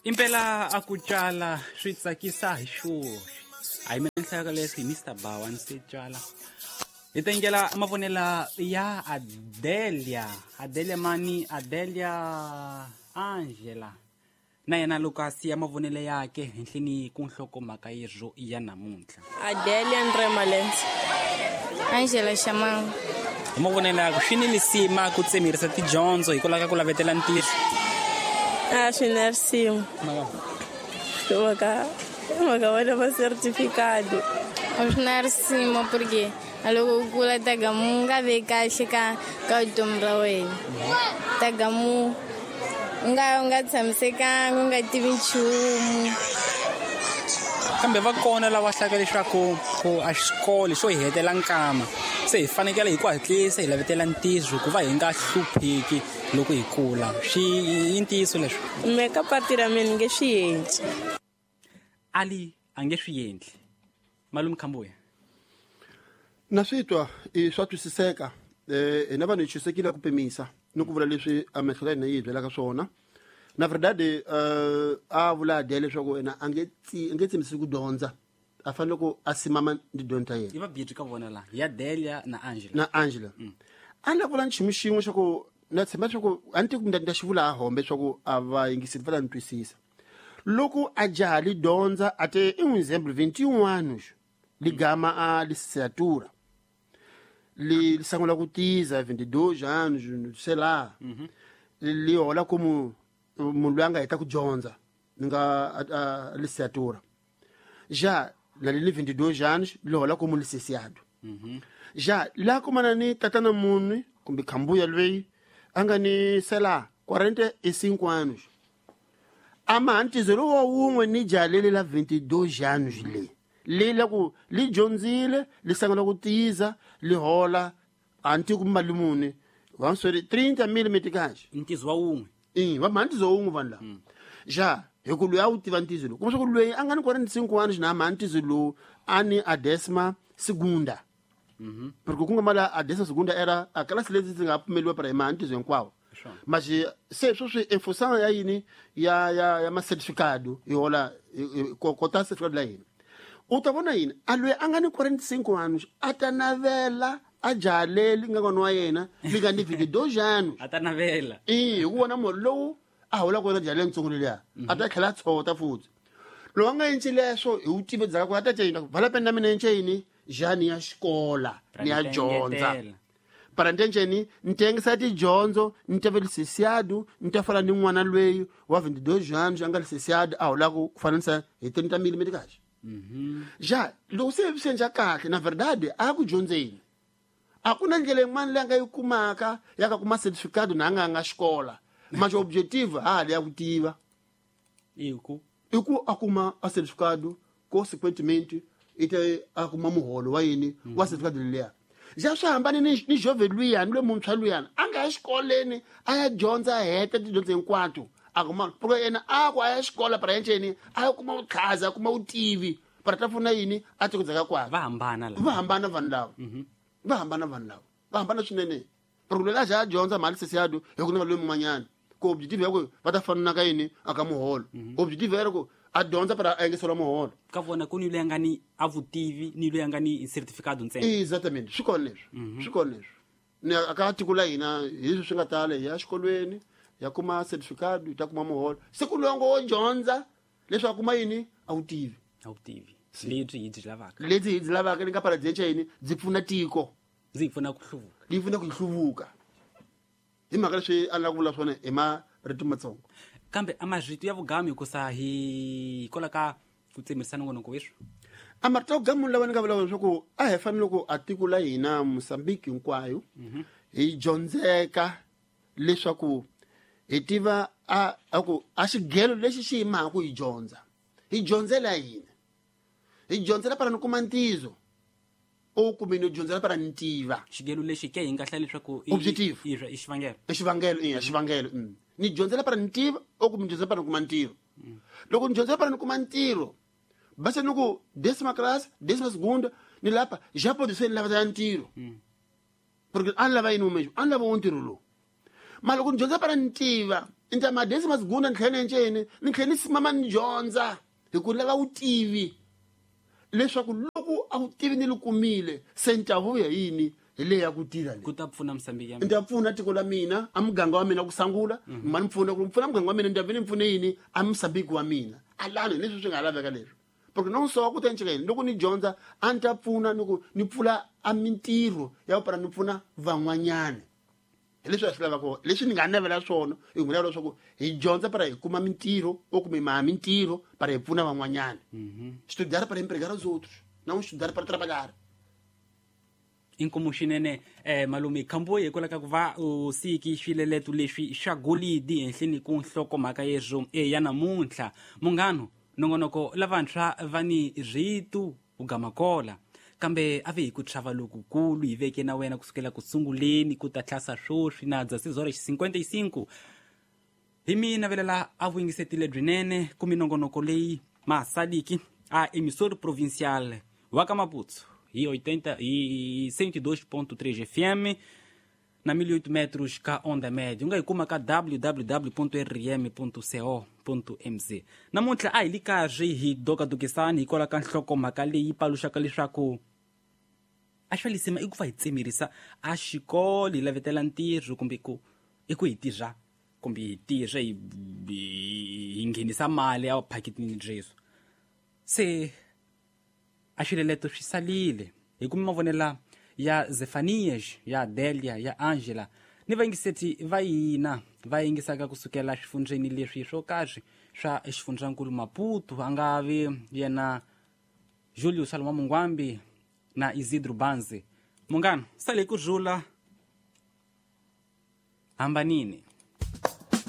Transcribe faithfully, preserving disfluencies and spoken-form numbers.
Impela a ku tshala swi tsakisa hi xoxe. A hi mina ni hlayaka leswi hi Mister Bawa ni se tshala. Hi tengela mavonela ya Adelia. Adelia mani? Adelia Angela. Na yena Lucas ya mavonelo yake henhleni ku nhlokomhaka yezvo ya namuntlha. Adelia Andre Malens. Angela Shamang. Hi mavonelo yakwe swi ni lisima ku tsemerisa tidyondzo hikwalaho ka ku lavetela ntirho. A swi na risimu. Mhaka mhaka vona va certificado. A swi na risimu porque a loko u kula tagamu nga ve kahle ka ka vutomi ra wena. Tagamu nga nga tshamisekanga, u nga tivi nchumu. Kambe va kona lava hlaka leswaku ku a xikolo xo hi hetela nkama se hi fanekele hi ku hatlisa hi lavetela ntirho ku va hi nga hlupheki loko hi kula. Swi i ntiyiso leswi? Me ka pati ra mina ni nge swi endli. Ali a nge swi endli. Malume Khambuya. Na swi twa i swa twisiseka. Eh hina vanhu hi chusekile ku pimisa ni ku vula leswi a mehlo ya hina yi hi byelaka swona. Na verdade eh a vula Adele leswaku yena a nge tsi a nge tsemisi ku dyondza. A fanele ku a simama ni dyondzo ta yena. I va byi ka vona la ya Delia na Angela. Na Angela. Mm. A na vula nchumu xin'we xa ku na tshemba leswaku a ni tivi ku ni ta xi vula a hombe leswaku a va yingiseli va ta ni twisisa. Loko a jaha li dyondza a te i un exemple vinte e um anos li gama a licenciatura. Li sangula ku tiza vinte e dois anos, sei lá. Mhm. Li hola como munhu loyi a nga heta ku dyondza ni nga a licenciatura. Já na li vinte e dois anos li hola como licenciado. Mhm. Já la kumana ni tatana munhu kumbe Khambuya loyi a nga ni sei lá quarenta e cinco anos. Ama ntizo lowu wa wun'we ni jaha leli la vinte e dois anos le. Li la ku li dyondzile li sangula ku tiza li hola a ni tivi ku mali muni va swi trinta mil meticais. Ntizo wa wun'we. I va mha ntizo wun'we vanhu lava. Ja hi ku loyi a wu tiva ntizo lowu kuma swa ku loyi a nga ni quarenta e cinco anos na mha ntizo lowu a ni a décima segunda. Mhm. Porque ku nga mali a décima segunda era a classe leti ndzi nga pfumeliwa para hi mha ntizo hinkwawo. Swona. Mas se sweswi em função ya yini ya ya ya ma certificado hi hola kota certificado la hina. U ta vona yini a loyi a nga ni quarenta e cinco anos a ta navela a jaha leri nga n'wana wa yena li nga ni vinte e dois anos. A ta navela. I hi ku vona munhu lowu a holaka wena jaha leyintsongo leliya a ta tlhela a tshota futhi. Loko a nga endli leswo hi wu tive ndzhaku a ta cina vala peni na mina yini ja ni ya xikola ni ya dyondza. Engetela. Para ntenjeni ni tengisa tidyondzo ni ta va licenciado ni ta fana ni n'wana loyi wa vinte e dois anos a nga licenciado a holaka ku fananisa hi trinta mil meticais. Mhm. Ja loko se swi endla kahle na verdade a ku dyondzeni. A ku na ndlela yin'wana leyi a nga yi kumaka ya ka kuma certificado na a nga nga xikola. Mas objetivo ha ha ya ku tiva. I ku I ku a kuma a certificado consequentemente i ta a kuma muholo wa yini wa certificado leliya. Ja swi hambane ni ni jove luyani loyi muntshwa luyani a nga ya xikolweni a ya dyondza a heta tidyondzo hinkwato a kuma porque yena a ku a ya xikola para enceni a ya kuma vutlhazi a kuma vutivi para ta pfuna yini a tiko dzaka kwakwe. Va hambana la. Va hambana vanhu lava. Va hambana vanhu lava. Va hambana swinene. Porque loyi a za a dyondza mali licenciado hi ku na loyi mun'wanyana ku objective ya ku va ta fana ka yini a ka muholo. Objective ya ku a dyondza para a engeseriwa muholo. Ka vona ku ni loyi a nga ni a vutivi ni loyi a nga ni certificado ntsena. Exatamente. Swi kona leswi. Swi kona leswi. Ni a ka tiko la hina hi leswi swi nga tala hi ya xikolweni ya kuma certificado hi ta kuma muholo. Se ku loyi wo dyondza leswi a kuma yini a wu tivi. A wu tivi. Lebyi hi byi lavaka. Lebyi hi byi lavaka ni nga para byi yini byi pfuna tiko. Ndzi yi pfuna ku hluvuka. Yi pfuna ku hi hluvuka. Hi mhaka leswi a ni lava ku vula swona hi marito matsongo. Kambe a marito ya vugami hikusa hi hikwalaho ka ku tsemerisa nongonoko weswi. A marito ya vugamu lawa ni nga vula leswaku a hi fanele ku a tiko la hina Mozambique hinkwayo hi dyondzeka leswaku hi tiva a a ku a xigelo lexi xi yimaka ku hi dyondza. Hi dyondzela yini? Hi dyondzela para ni kuma ntizo. O kumbe ni dyondzela para ni tiva. Xigelo lexi ke hi nga hlaya leswaku i Objective. i i xivangelo. I xivangelo i xivangelo. Mm. Ni dyondzela para ni tiva o kumbe ni dyondzela para ni kuma ntirho. Loko ni dyondzela para ni kuma ntirho basa ni ku décima classe, décima segunda ni lapa já pode ser ni lava ya ntirho. Porque a ni lava yini mesmo? A ni lava wo ntirho lowu. Ma loko ni dyondza para ni tiva ni ta madesima segunda ni tlhela ni enceni ni tlhela ni simama ni dyondza hi ku lava vutivi leswaku loko a vutivi ni li kumile se ni ta vuya yini hi leyi ya ku tirha leyi ku ta pfuna Mozambique ya ni ta pfuna tiko la mina a muganga wa mina ku sangula ma ni pfuna ku pfuna muganga wa mina ni ta ve ni pfune yini a Mozambique wa mina alani hi leswi swi nga laveka leswi porque não só ku ta nceka yini loko ni dyondza a ni ta pfuna ni ku ni pfula a mintirho ya ku para ni pfuna van'wanyana hi leswi a swi lavaka leswi ni nga navela swona hi ku lava leswaku hi dyondza para hi kuma mintirho o kumbe maha mintirho para hi pfuna van'wanyana estudar para empregar os outros não estudar para trabalhar Inkomu xinene eh malume khambuye hikwalaho ka ku va u siki swileleto leswi swa golidi henhleni ku nhlokomhaka yeswo e ya namuntlha munghano nongonoko lavantshwa va ni rito u gamakola kambe a ve hi ku chava lokukulu hi veke na wena kusukela ku sunguleni ku ta tlhasa swoswi na dezesseis horas cinquenta e cinco hi mi navelela a vuyingisetile byinene ku minongonoko leyi masaliki a emissora provincial wa ka Maputo hi oitenta e cento e dois ponto três F M na mil e oito metros ka onda média. U nga yi kuma ka w w w ponto r m ponto co ponto m z. Namuntlha a hi li karhi hi dokadokisani hikwalaho ka nhlokomhaka leyi paluxaka leswaku a xi lisima i ku va hi tsemerisa a xikolo hi lavetela ntirho kumbe ku i ku hi tirha kumbe hi tirha hi hi nghenisa mali a phaketini byeso se a xileleto swi salile hi kuma mavonela ya Zefanias ya Delia ya Angela ni vayingiseti va hina va yingisaka kusukela swifundzeni leswi swo karhi swa xifundzankulu Maputo a nga vi yena Julio Salomão Mungwambi na Isidro Banzi. Munghano sale ku rhula hambanini.